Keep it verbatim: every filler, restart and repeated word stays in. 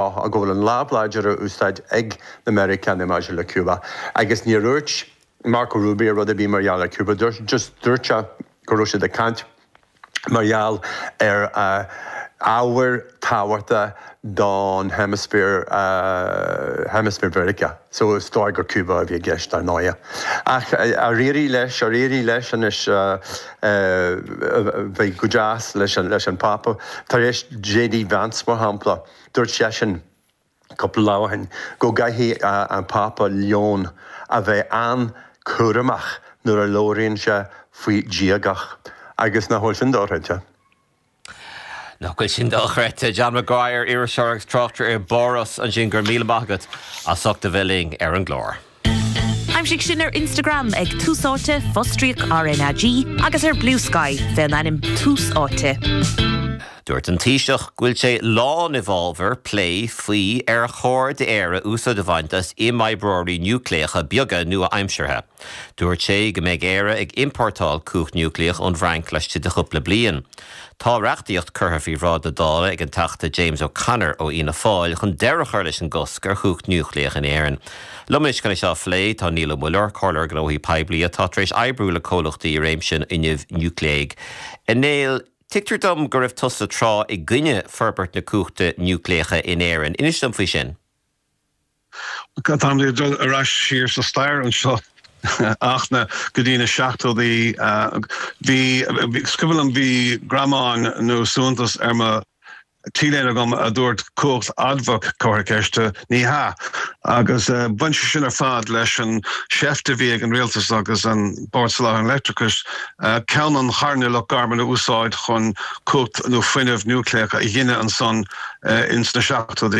Go bhfuil an lámh láidir á úsáid ag na Meiriceánaigh maidir le Cuba. Agus níor dhúirt Marco Rubio rud ar bith mar gheall ar Cuba, just dúirt sé go raibh siad ag caint mar gheall ar uh, ábhair tábhachtacha don hemisféar uh, hemisféar Mheiriceá. So is dóigh gur Cuba a bhí i gceist ar ndóigh. Ach ar éirigh leis ar éirigh leis anois bheith go deas leis an leis an Papa. Tar éis J D Vance, mar shampla, dúirt seisean cúpla lá ó shin go gcaithfidh an Pápa Leon a bheith an-chúramach nuair a labhraíonn sé faoi diagacht agus nach bhfuil sin dochreidte. Nach bhfuil sin dochreidte. John Maguire, iriseoir agus tráchtaire i bPáras ansin, go raibh míle maith agat as ucht a bheith linn ar an gclár. Aimsigh sinn ar Instagram ag Tús Áite fostríoc R N A G agus ar Bluesky fén ainm Tús Áite. Dúirt an Taoiseach go bhfuil sé lán i bhfabhar plé faoi ar chóir d'Éire úsáid a bhaint as imoibreoirí núicléacha beaga nua-aimseartha. Dúirt sé go mbeidh Éire ag iompórtáil cumhacht núicléach ón bhFrainc laistigh de chúpla bliain. Tá reachtaíocht curtha faoi bhráid na Dála ag an Teachta James O'Connor ó Fhianna Fáil chun deireadh a chur leis an gcosc ar chumhacht núicléach in Éirinn. Liom anois chun é seo a phlé tá Niall Ó Muilleoir, comhairleoir gnóthaí poiblí atá tar éis oibriú le comhlachtaí i réimse an fhuinnimh núicléigh. A Néill, tuigtear dom go raibh tusa tráth i gcoinne forbairt na cumhachta núicléiche in Éirinn. Inis dom faoi sin. Tá dul ar ais siar sa stair anseo ach na go dtí na seachtóidí, bhí sciobhlam, bhí greamán nó suaitheantas ar mo T-léine agam a dúirt "Cumhacht admhach comhartha ceiste, ní hea", agus uh, bhain sé sin ar fad leis an seift a bhí ag an rialtas agus an Bord Soláthair an Leictreachais uh, ceann an Charna Loch Garman a úsáid chun cumhacht nó fuinneamh núicléach a ghineadh ansan uh, ins na seachtóidí.